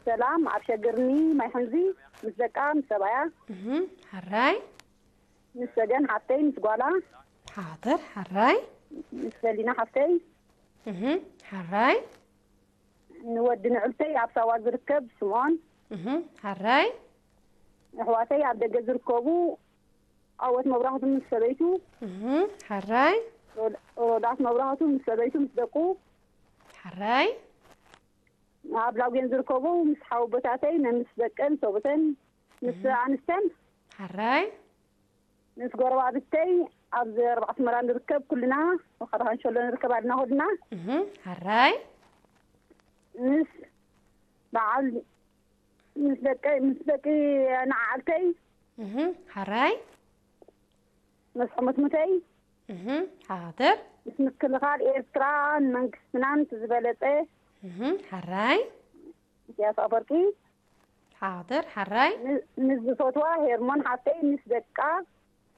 ሰላም ኣብ ሸግርኒ ማይ ሕንዚ ምስ ደቃ ምስ ሰብኣያ እህ፣ ሕራይ። ምስ ሰገን ሓፍተይ ምስ ጓላ ሓደር፣ ሕራይ። ምስ ሰሊና ሓፍተይ እህ፣ ሕራይ። ንወዲ ንዕልተይ ኣብ ሳዋ ዝርከብ ስምዖን እህ፣ ሕራይ። ኣሕዋተይ ኣብ ደገ ዝርከቡ ኣወት መብራህቱ ምስ ሰበይቱ እህ፣ ሕራይ። ሮዳስ መብራህቱ ምስ ሰበይቱ ምስ ደቁ ሕራይ። ኣብ ላጉን ዝርከቡ ምስ ሓወቦታተይ ምስ ደቀን ሰብኡተን ምስ ኣንስተን ሕራይ። ምስ ጎረባብተይ ኣብዚ ኣርባዕተ መራ ንርከብ ኩልና መኸራ ካንሸሎ ንርከብ ኣልና ኩልና እህ፣ ሕራይ። ምስ በዓል ምስ ደቀ ምስ ደቂ ንዓዓልተይ እህ፣ ሕራይ። ምስ ሕሙትሙተይ እህ፣ ሓደር። ምስ ምክልኻል ኤርትራ ንመንግስትናን ዝበለጸ እህ፣ ሕራይ። ኢሳያስ ኣፈወርቂ ሓደር፣ ሕራይ። ን- ንዝፈትዋ ሄርሞን ሓፍተይ ምስ ደቃ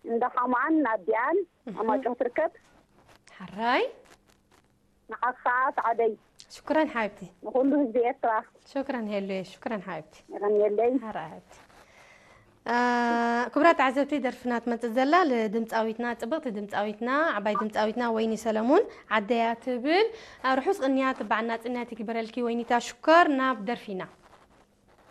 እንዳ ሓማን ኣዲኣን ኣማጮ ትርከብ። ሕራይ። ንዓኻ ሰዓደይ ሽኩረን ሓብቲ። ንኹሉ ህዝቢ ኤርትራ ሽኩረን ሄሉየ፣ ሽኩረን ሓብቲ። ይቐንየለይ። ሕራይ ሓብቲ። አ፣ ክቡራት ተዓዘብቲ፣ ደርፍና ትመጽእ ዘላ ንድምፃዊትና፣ ጽብቕቲ ድምፃዊትና፣ ዓባይ ድምፃዊትና ወይኒ ሰለሙን ዓደያ ትብል። አ፣ ርሑስ ቅንያት በዓል ናጽነት ይግበረልኪ ወይኒታ ሽኮር። ናብ ደርፊና።